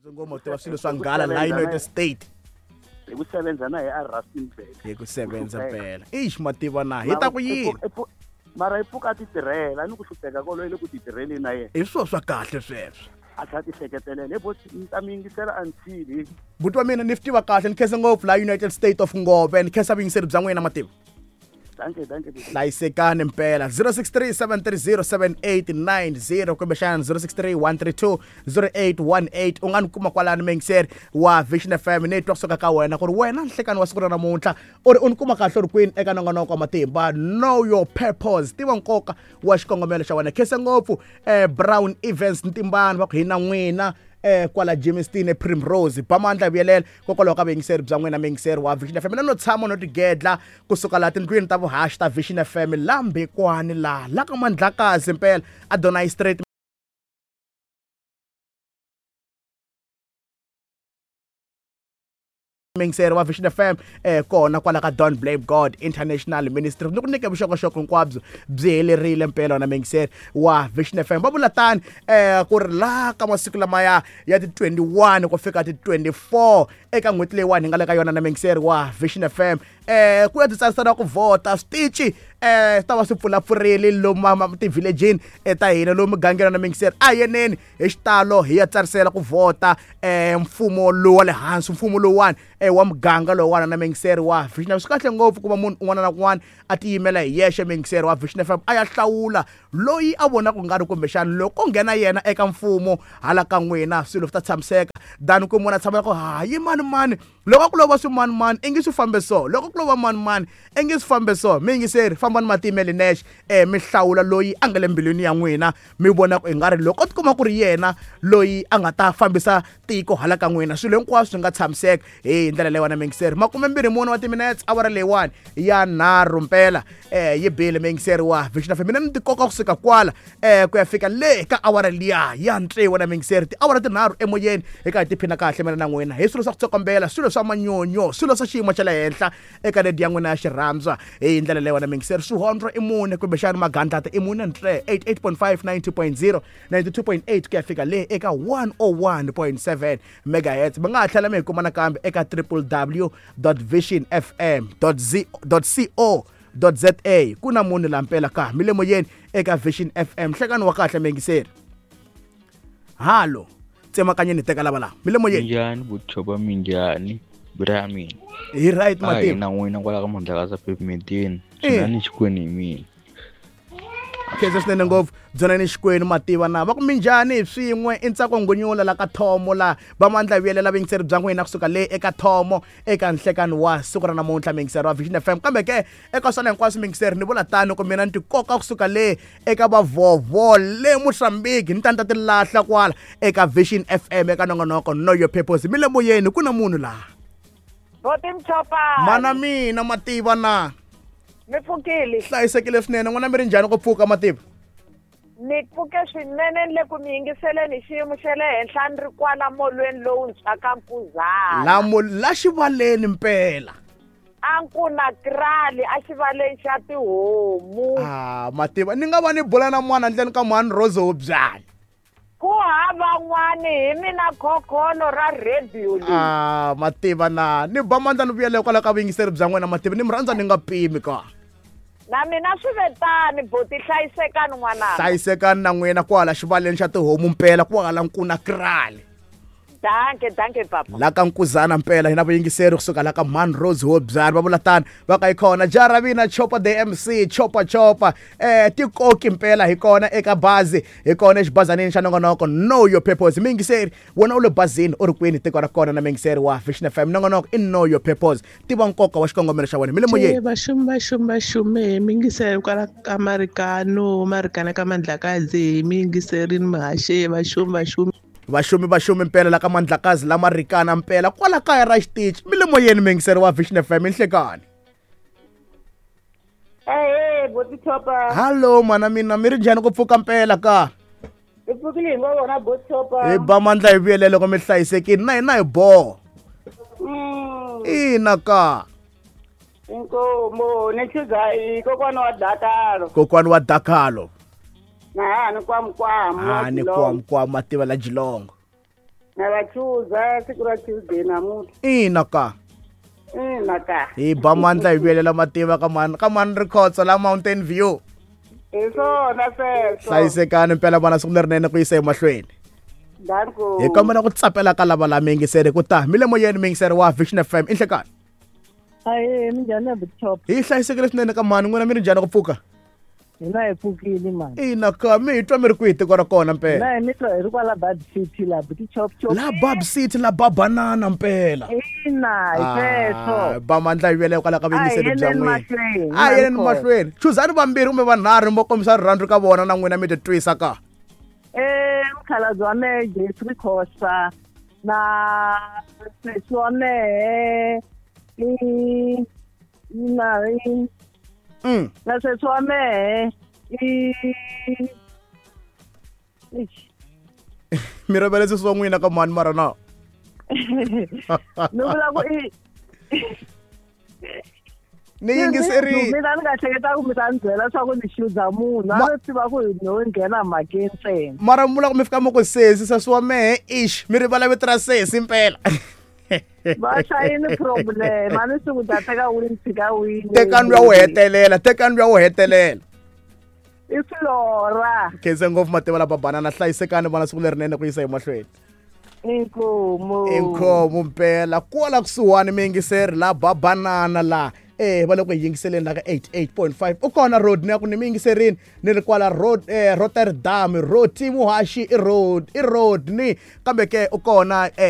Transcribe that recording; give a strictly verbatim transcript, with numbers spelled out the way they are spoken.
Ngoma tiva swilo swa nghala la United States. Hi ku sebenza na hi a Rustenburg. Hi ku sebenza phela. Eish mativa na hi ta ku yini? Mara hi pfuka ti tirhela ni ku hlupheka kolo ile ku ti tirheli na yena. Hi swo swa kahle sweswo. A tlha ti hleketelela hi boti ni ta mi yingisela until. Buti wa mina ni swi tiva kahle ni khensa ngopfu la United States of Ngove ni khensa vuyingiseri bya n'wina mativa. Danke, danke. Hlayisekani mpela zero six three seven three zero seven eight nine zero kumbexana zero six three one three two zero eight one eight u nga ni kuma kwalani muyingiseri wa Vision F M ni twa kusuka ka wena ku ri wena nhlekani wa siku ra namuntlha u ri u ni kuma kahle u ri kwini eka nongonoko wa matimba. Know your purpose, tiva nkoka wa xikongomelo xa wena. Khensa ngopfu eh, Brown Events Ntimbani va ku hi na n'wina eh kwala Jamestown Primrose Bamandla vuyelela kokwalaho ka vuyingiseri bya n'wina muyingiseri wa Vision F M. Mina no tshama no tigedla kusuka laha tindlwini ta vuhaxi ta Vision F M la Mbekwani laha la ka Mandlakazi mpela Adonai Street muyingiseri wa Vision F M eh kona kwala ka Don't Blame God International Ministry. Ni ku nyike vuxokoxoko hinkwabyo byi helerile mpela na muyingiseri wa Vision F M. Va vula tani eh ku ri la ka masiku lamaya ya ti twenty-one ku fika ti twenty-four eka n'hweti leyiwani hi nga le ka yona na muyingiseri wa Vision F M eh ku ya titsarisela ku vhota switichi eh ta va swi pfulapfurile lomu tivhilejini ta hina lomu mugangeni na muyingiseri a yeneni hi xitalo hi ya tsarisela ku vhota eh mfumo lowu wa le hansi mfumo lowuwani eh wa muganga lowuwani na muyingiseri wa Vision F M. Swi kahle ngopfu ku va munhu un'wana na un'wana a tiyimela hi yexe muyingiseri wa Vision F M a ya hlawula loyi a vonaka ku nga ri kumbexana loko nghena yena eka mfumo hala ka n'wina swilo swi ta tshamiseka than ku munhu a tshamela ku hayi mani mani loko ku lova swi mani mani i nge swi fambe so loko ku lova mani mani i nge swi fambe so. Muyingiseri fambani matimeli nexe eh mi hlawula loyi a nga le mbilwini ya n'wina mi vona ku i nga ri loko tikuma ku ri yena loyi a nga ta fambisa tiko hala ka n'wina swilo hinkwaswo swi nga tshamiseka hi ndlela leyiwani muyingiseri. Makumembirhi mune wa timinetse awara leyiwani ya nharhu mpela eh yi bile muyingiseri wa Vision F M. Mina ni tikoka kusuka kwala eh ku ya fika le ka awara liya ya ntsevu na muyingiseri tiawara tinharhu emoyeni hi ka hi tiphina kahle mina na n'wina hi swilo swa ku tsokombela swilo swa manyonyo swilo swa xiyimo xa le henhla eka rediyo ya n'wina ya xirhandzwa hi ndlela leyiwani muyingiseri. Swihondlo i mune kumbexana magandlata i mune ntle eighty-eight point five ninety point zero ninety-two point eight ku ya fika le eka one oh one point seven megahertz. Mi nga ha tlhela mi hi kuma nakambe eka w w w dot vision f m dot co dot z a. Ku na munhu la mpela ka mi le moyeni eka Vision F M. Nhlekani wa kahle muyingiseri. Halo tsemakanyeni teka lava laha mi le moyeni. Minjhani vuchopa minjhani bra mina hi right mativa na n'wina kwala ka Mandlakazi pavementeni swinani xikwenu hi mina. Khensa swinene ngopfu byonani xikwenu mativa na va ku minjhani hi swin'we i ntsako ngonyula la ka thomo la Bamandla vuyelela vuyingiseri bya n'wina kusuka le eka thomo eka nhlekani wa siku ra namuntlha muyingiseri wa Vision F M. Kambe ke eka swona hinkwaswo muyingiseri ni vula tano ku mina ni tikoka kusuka le eka vavhovho le Mozambique ni ta ni ta ti lahla kwala eka Vision F M eka nongonoko Know Your Purpose. Mi le moyeni ku na munhu laha. Boti Mchopa. Mana mina mativa na mi pfukile. Hlayisekile swinene n'wana mi ri njhani ku pfuka mativa? Ni pfuke swinene ni le ku mi yingiseleni xiyimo xa le henhla ni ri kwala molweni lowuntshwa ka Nkuzana. La mo la xivaleni mpela. A ku na krali a xivaleni xa tihomu. Ah mativa ni nga va ni bula na n'wana ndleni ka mhani Rose Hobyani. Ku hava n'wani hi mina khokholo ra radio leyi. Ah mativa na ni ba mandla ni vuyele kwala ka vuyingiseri bya n'wina mativa ni mi rhandza ni nga pimi ka. Na mina swi ve tani boti hlayisekani n'wananga. Hlayisekani na n'wina kwala xivaleni xa tihomu mpela kwala nkuna krali. Danke, danke papa. La ka Nkuzana mpela hina vuyingiseri kusuka la ka Man Rose Hobyani va vula tani va ka hi kona Jaravina Chopa the M C Chopa Chopa eh tikoki mpela hi kona eka bazi hi kona exibazanini xa nongonoko Know Your Purpose. Muyingiseri wena u le bazini u ri kwini tiko ra kona na muyingiseri wa Vision F M nongonoko i Know Your Purpose tiva nkoka wa xikongomelo xa wena mi le moyeni. Vaxumi vaxumi vaxumi muyingiseri kwala ka Marikano Marikana ka Mandlakazi muyingiserini muhaxi vaxumi vaxumi vaxumi vaxumi mpela la ka Mandlakazi la Marikana mpela kwala kaya ra xitichi mi le moyeni muyingiseri wa Vision F M nhlekani. Ehe boti Chopa. Hallo mana mina mi ri njhani ku pfuka mpela ka? Hi pfukile hi ngo vona boti Chopa. Hi ba mandla hi vuyele loko mi hlayisekile na hina hi boho. Ina ka. Inkomo ni chuza hi kokwana wa Dakalo. Kokwana wa Dakalo. Na ni kwamkwam. Ah ni kwamkwam mativa la Jilongo. Na va chuza siku ra Tuesday namuntlha. Ina ka. Ina ka. Hi ba mandla hi vuyelela mativa ka mani ka mani Rikhotso la Mountain View. Hi swona sweswo. Hlayisekani mpela vana siku lerinene ku yisa emahlweni. Danko. Hi kombela ku tsapela ka lava la miyingiseri ku ta mi le moyeni miyingiseri wa Vision F M i nhlekani. Ahee, minjhani ya Butchop? Hi hlayisekile swinene ka mani n'wina mi ri njhani ku pfuka? Hina hi pfukile mani. Ina ka mi hi twa mi ri kwihi tiko ra kona mpela? Hina hi mi twa hi ri kwala Bab City la Butchop chop. La Bab City la Babanana mpela. Ina hi sweswo. Ba mandla hi vuyela kwala ka vuyingiseri bya n'wina. A A yeleni mahlweni. Chuzani vambirhi kumbe vanharhu mo kombisa rirhandzu ka vona na n'wina mi titwisa ka. Eh, mukhalabye wa mehe Jeffrey Khosa na sesi wa mehe i na i Mm. na sesi wa mehe i Mi rivele sesi wa n'wina ka mani mara na? Ni vula ku i Ni yingiserile. Mina ni nga hleketa ku mi ta ni byela swa ku ni xuza munhu a Ma- ni tiva ku no nghena mhakeni ntsena. Mara mi vula ku mi fika mi ku sesi sesi wa mehe ish mi rivala vito ra sesi mpela. Va hlayini problem a ni swi ku ta teka wini tshika wini. Tekani luya wo hetelela, tekani luya wo hetelela. I Flora. Khense ngopfu mativa la Babanana hlayisekani vana siku lerinene ku yisa emahlweni. Inkomu. Inkomu mpela kwala kusuhani miyingiseri la Babanana la. Eh va le ku hi yingiseleni la ka eighty-eight point five. U kona road ni ya ku ni mi yingiserini ni ri kwala road eh Rotterdam Roti Muhaxi i road i road ni kambe ke u kona eh